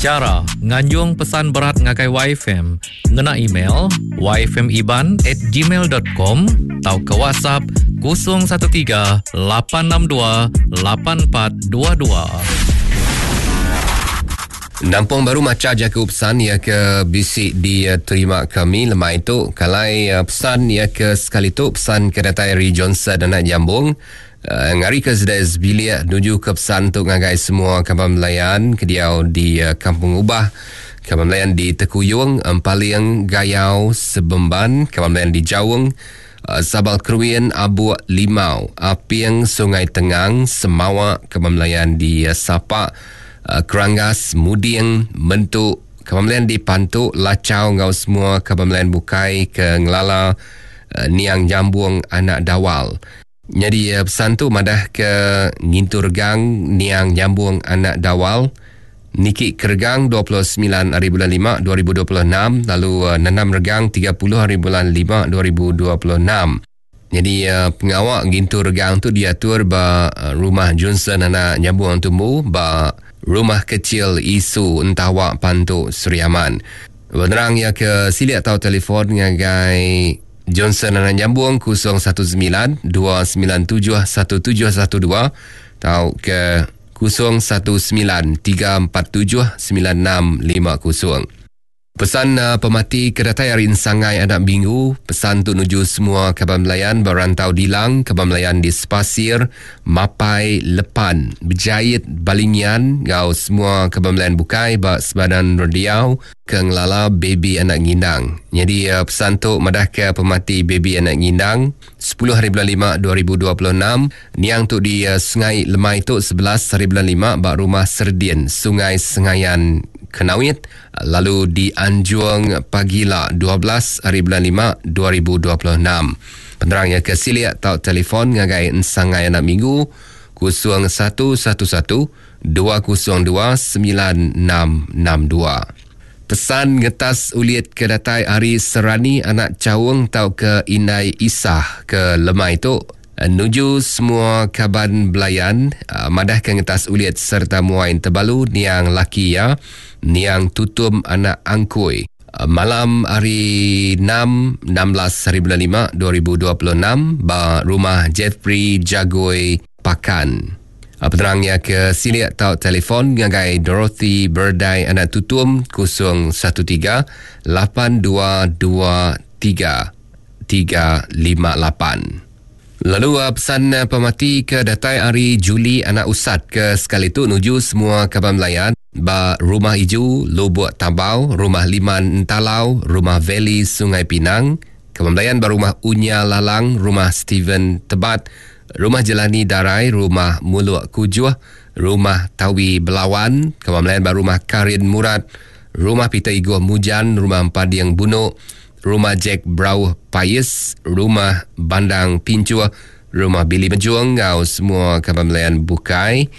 Chara nganjung pesan berat ngagai YFM ngena email yfmiban at gmail dot com tauka WhatsApp 013 862 8422. Nampung baru macha jaku pesan iya ke bisi diterima kami lemai tu. Kalai pesan iya ke sekali tu pesan ke datai ari Johnson anak Jambung. Ngarika sida sebilik nujuka pesan tu ngagai semua kaban belayan ke diau di Kampung Ubah, kaban belayan di Tekuyung, Empaling, Gayau, Sebemban, kaban belayan di Jaung, Sabal Keruin, Abuk, Limau, Aping, Sungai Tengang, Semawa, kaban belayan di Sapak, Keranggas, Muding, Mentu, kaban belayan di Pantu, Lachau enggau semua kaban belayan bukai ke ngelala Niang Nyambung anak Dawal. Nyadi pesan tu madah ke ngintu regang niang nyambung anak Dawal niki ke regang 29 hari bulan 5 2026 lalu nanam regang 30 hari bulan 5 2026. Nyadi pengawa ngintu regang tu diatur ba Rumah Johnson anak Nyambung Tumbu ba Rumah Kecil Isu Entawa Pantu Sri Aman. Penerang iya ke silik tau telefon ngagai Johnson Anak Nyambung 019 297 1712 tau ke 019 347 9650. Pesan uh, pemati ke datai ari Ensangai Anak Minggu, pesan tu nuju semua kaban belayan ba rantau Dilang, kaban belayan di Sepasir, Mapai, Lepan, Bejait, Balingian enggau semua kaban belayan bukai ba Sebadan Rendiau ke ngelala baby anak ngindang. Nyadi pesan tu madahka pemati baby anak ngindang sepuluh hari bulan lima 2026 niang tu di Sungai Lemai tu 11 hari bulan lima ba Rumah Serdin Sungai Sengayan Kenawit lalu dianjung pagila 12 hari bulan lima 2026. Penerang iya ke silik tau telefon ngagai Ensangai Anak Minggu 0111 202 9662. Pesan ngetas ulit ke datai ari Serani anak Chaung tauka Indai Isah ke lemai tu nuju semua kaban belayan madahka ngetas ulit sereta muai entebalu niang laki iya niang Tutum anak Angkui malam hari enam 16 hari bulan lima 2026 ba Rumah Jeffrey Jagoi Pakan. Penerang iya ke silik tau telefon ngagai Dorothy Berdai Anak Tutum 013 8223 358. Lalu pesan pemati ke datai ari Julie Anak Usat ke sekali tu nuju semua kaban belayan ba Rumah Iju, Lubuk Tabau, Rumah Liman Entalau, Rumah Valley Sungai Pinang, kaban belayan ba Rumah Unya Lalang, Rumah Steven Tebat, Rumah Jelani Darai, Rumah Muluk Kujuh, Rumah Tawi Belawan, kaban belayan ba Rumah Karin Murat, Rumah Peter Igoh Mujan, Rumah Empading Bunuk, Rumah Jack Brauh Pais, Rumah Bandang Pincuh, Rumah Billy Mejung enggau semua kaban belayan bukai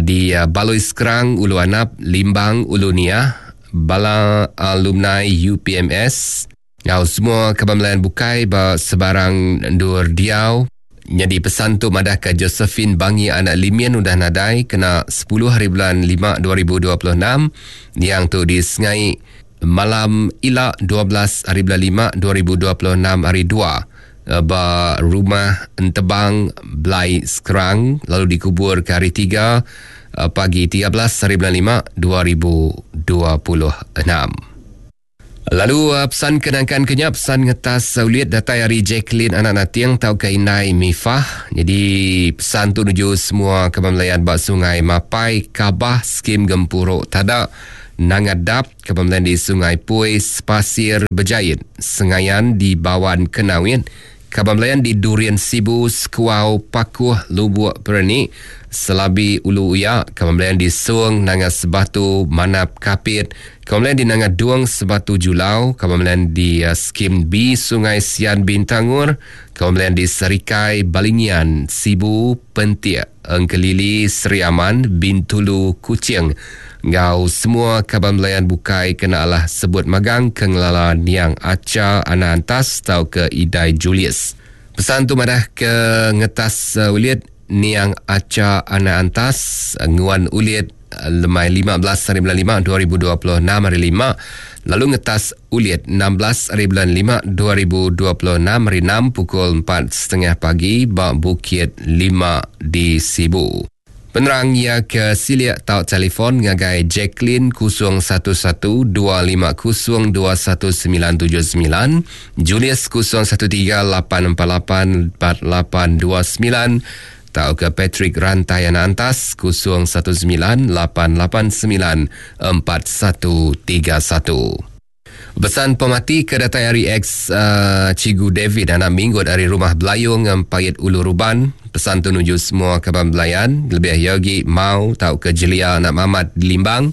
di Balui Skrang, Ulu Anap, Limbang, Ulu Niah, bala alumni UPMS enggau semua kaban belayan bukai ba sebarang endur diau. Nyadi pesan tu madahka Josephine Bangi anak Limin udah nadai kena 10 hari bulan 5 2026 niang tu di Sengai malam ila 12 hari bulan 5 2026 hari 2 ba Rumah Entebang Blai Skrang lalu dikubur ke hari 3 pagi 13 hari bulan 5 2026. Lalu pesan ke nangkan ke nya pesan ngetas ulit datai ari Jacqueline anak Nating tauka indai Mifah. Jadi pesan tu nuju semua kaban belayan ba Sungai Mapai, Kabah, Skim Gempuru Tada, Nanga Dap, kaban belayan di Sungai Pui, Sepasir Bejait, Sengayan di Bawan Kenawit, Kaban belayan di Durian Sibu, Sekuau, Pakuh, Lubuk Pereni, Selabi Ulu Uya, kaban belayan di Song, Nanga Sebatu, Manap, Kapit, kaban belayan di Nanga Dung, Sebatu Julau, kaban belayan di Skim B, Sungai Sian Bintangor, kaban belayan di Serikai, Balingian, Sibu, Pentik, Engkelili, Sri Aman, Bintulu, Kuching enggau semua kaban belayan bukai kena alah sebut magang ke ngelala niang Acha Anak Antas tauka Idai Julius. Pesan tu madah ke ngetas ulit niang Acha Anak Antas nguan ulit. lemai 15 hari bulan 5 2026 hari 5 lalu ngetas ulit 16 hari bulan 5 2026 hari 6 pukul 4.30 pagi ba Bukit 5 di Sibu. Penerang ia ke silik tau telefon ngagai Jacqueline 011 250 21979, Julius 013 848 4829 tau ke Patrick Rantai Anak Antas 019 889 4131. Pesan pemati ke datai ari ex uh, Cikgu David anak Minggut ari Rumah Belayung Empait Ulu Ruban. Pesan tu nuju semua kaban belayan, lebih yogi mau tau ke Jelia anak Mamat di Limbang.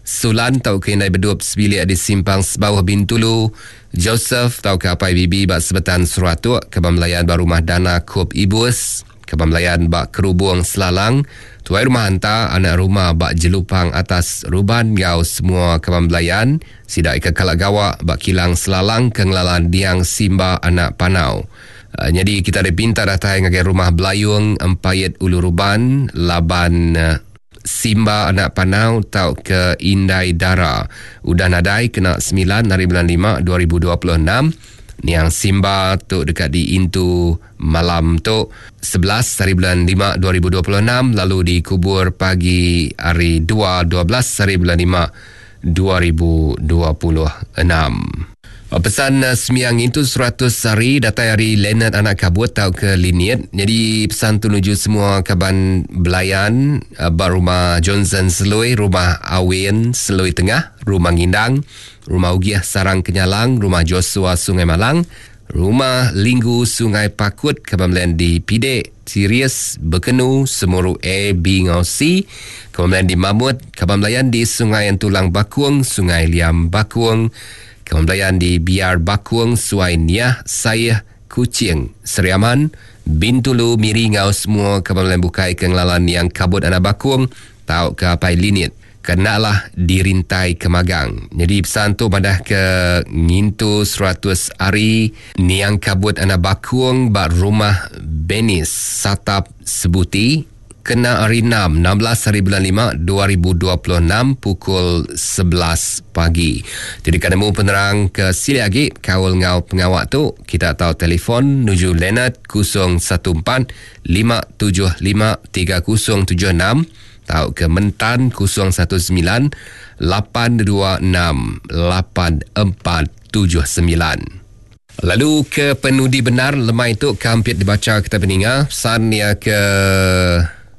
Sulan tau ke Indai Bedup sebilik di Simpang Sebauh Bintulu. Joseph tau ke Apai Bibi ba Sebetan Seratuk, kaban belayan ba Rumah Dana Kup Ibus. Kaban belayan ba Kerubung Selalang, Tuai Rumah Anta, anak rumah ba Jelupang Atas Ruban enggau semua kaban belayan sida ika kala gawa ba Kilang Selalang ke ngelala Niang Simba anak Panau. Nyadi kita dipinta datai ngagai Rumah Belayung Empait Ulu Ruban laban Simba anak Panau tauka Indai Dara udah nadai kena 9 hari bulan 5 2026. Niang Simba tu deka diintu malam tu 11 hari bulan 5 2026 lalu dikubur pagi hari 2 12 hari bulan 5 2026. Pesan semiang itu 100 hari datai hari Leonard anak kabut tau ke Liniet. Jadi pesan tu nuju semua kaban belayan ba rumah Johnson Selui, rumah Awin Selui Tengah, rumah Ngindang, rumah Ugiah Sarang Kenyalang, rumah Joshua Sungai Malang, rumah Linggu Sungai Pakut, kaban belayan di Pidek, Sirius, Bekenu, Semuru A, B ngau C, kaban belayan di Mamut, kaban belayan di Sungai Entulang Bakung, Sungai Liam Bakung, kaban belayan di Biar Bakung, Suai Niah, Sayeh, Kuching, Seriaman, Bintulu, Miri ngau semua kaban belayan bukai ke ngelalan yang kabut anak Bakung, tau ke Apai Linit. Kenalah dirintai kemagang. Jadi pesan tu madah ke ngintu 100 hari niang kabut anak Bakung ba rumah Benis Satap Sebuti kena hari 6 16 hari bulan 5 2026 pukul 11 pagi. Jadi kan nemu penerang ke sili lagi kaul ngau pengawak tu kita tahu telefon nuju Leonard 014 575 3076 tau ke Mentan 019 826 8479. Lalu ke penudi benar lemai tu kampit dibaca kita peninga pesan ya ke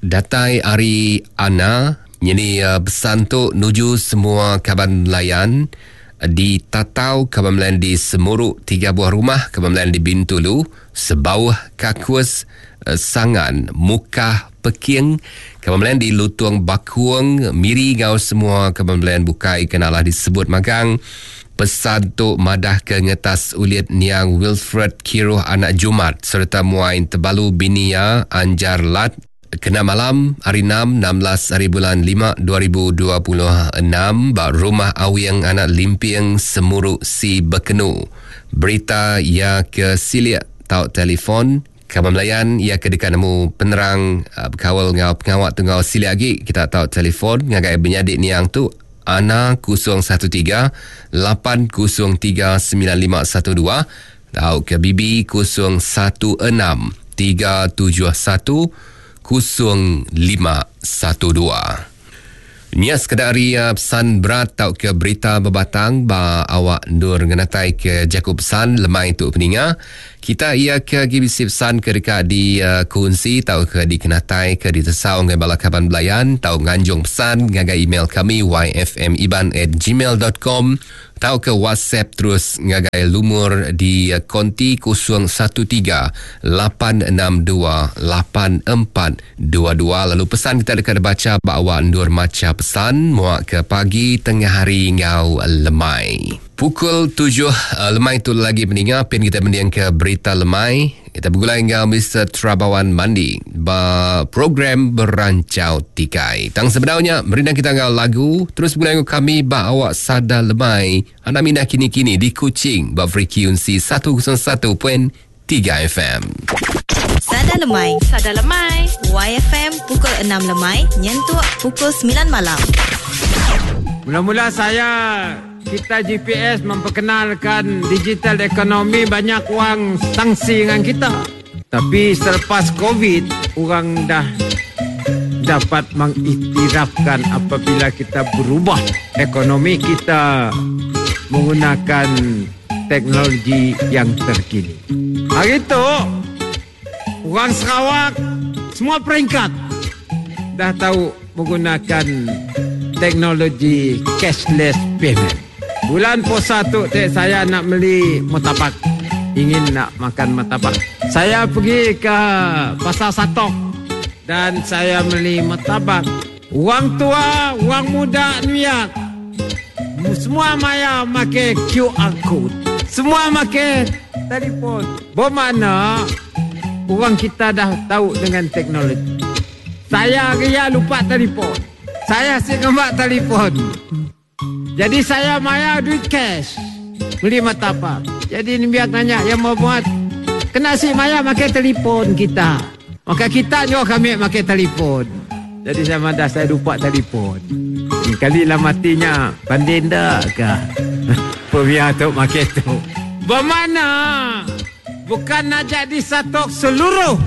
datai hari Ana. Jadi pesan tu nuju semua kaban belayan di Tatau, kaban belayan di Semuruk 3 buah rumah, kaban belayan di Bintulu, Sebauh Kakus, Sangan, Mukah, Peking, kaban belayan di Lutung Bakuang, Miri ngau semua kaban belayan bukai kenalah disebut magang. Pesan tu madah ke ngetas ulit niang Wilfred Kiruh anak Jumat serta muain tebalu binia Anjar Lat kena malam hari 6 16 hari bulan 5 2026 ba rumah Awing anak Limping Semuruk Si Bekenu. Berita ya ke silik tau telefon kaban belayan ia ke dekat nemu penerang berkawal ngau pengawak tu ngau silik lagi kita tau telefon ngagai benyadik niang tu Ana 013 803 9512 tau ke BB 016 371 0512. Nya sekedar pesan berat tau ke berita berbatang ba awak ndur ngenatai ke jaku pesan lemai tu peninga. Kita ia ke GBC pesan ke dekat di kunsi tau ke dikenatai ke ditesau ngai bala kaban belayan tau nganjung pesan ngagai email kami yfmiban@gmail.com tau ke WhatsApp terus ngagai lumur di konti 013 862 8422. Lalu pesan kita dekat baca bawa ndur maca pesan muak ke pagi tengah hari ngau lemai. Pukul 7 lemai tu lagi peninga pin kita mendiang ke berita lemai. Kita bergulai ngau Mr. Trabawan Mandi ba program Berancau Tikai. Tang sebenarnya merindang kita ngau lagu terus bergulai ngau kami ba awak sada lemai anak minah kini-kini di Kuching ba frekuensi 101.3 FM. Sada. Sada Lemai. Sada Lemai. YFM pukul 6 lemai nyentuk pukul 9 malam. Mula-mula saya kita GPS memperkenalkan digital ekonomi banyak wang sanksi dengan kita. Tapi selepas COVID orang dah dapat mengiktirafkan apabila kita berubah ekonomi kita menggunakan teknologi yang terkini. Hari itu orang Sarawak semua peringkat dah tahu menggunakan teknologi cashless payment. Bulan puasa tu cik, saya nak beli murtabak. Ingin nak makan murtabak. Saya pergi ke Pasar Satok dan saya beli murtabak. Orang tua, orang muda niat. Semua maya make QR code. Semua make telefon. Bermakna orang kita dah tahu dengan teknologi. Saya ria lupa telefon. Saya asyik ngembat telefon. Jadi saya maya duit cash. Beli murtabak. Jadi ni biar tanya yang mau buat. Kena si maya pakai telefon kita. Maka kita juga kami pakai telefon. Jadi saya madah saya lupa telefon. Ni kali lah matinya banding dah ke? Pemia tu pakai tu. Bermakna bukan nak jadi satu seluruh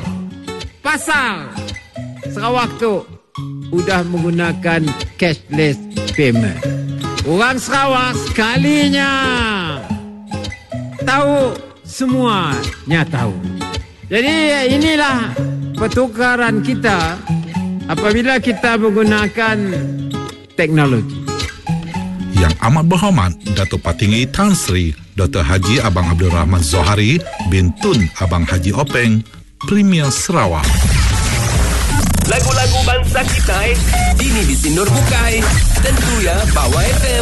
pasal Sarawak tu udah menggunakan cashless payment. Orang Sarawak sekalinya tahu semuanya tahu. Jadi inilah pertukaran kita apabila kita menggunakan teknologi. Yang amat berhormat Datuk Patinggi Tan Sri Dr. Haji Abang Abdul Rahman Zohari bin Tun Abang Haji Openg, Premier Sarawak. Lagu-lagu bangsa kita, dini di Sinur Bukai. Tentu ya, Bawah FM.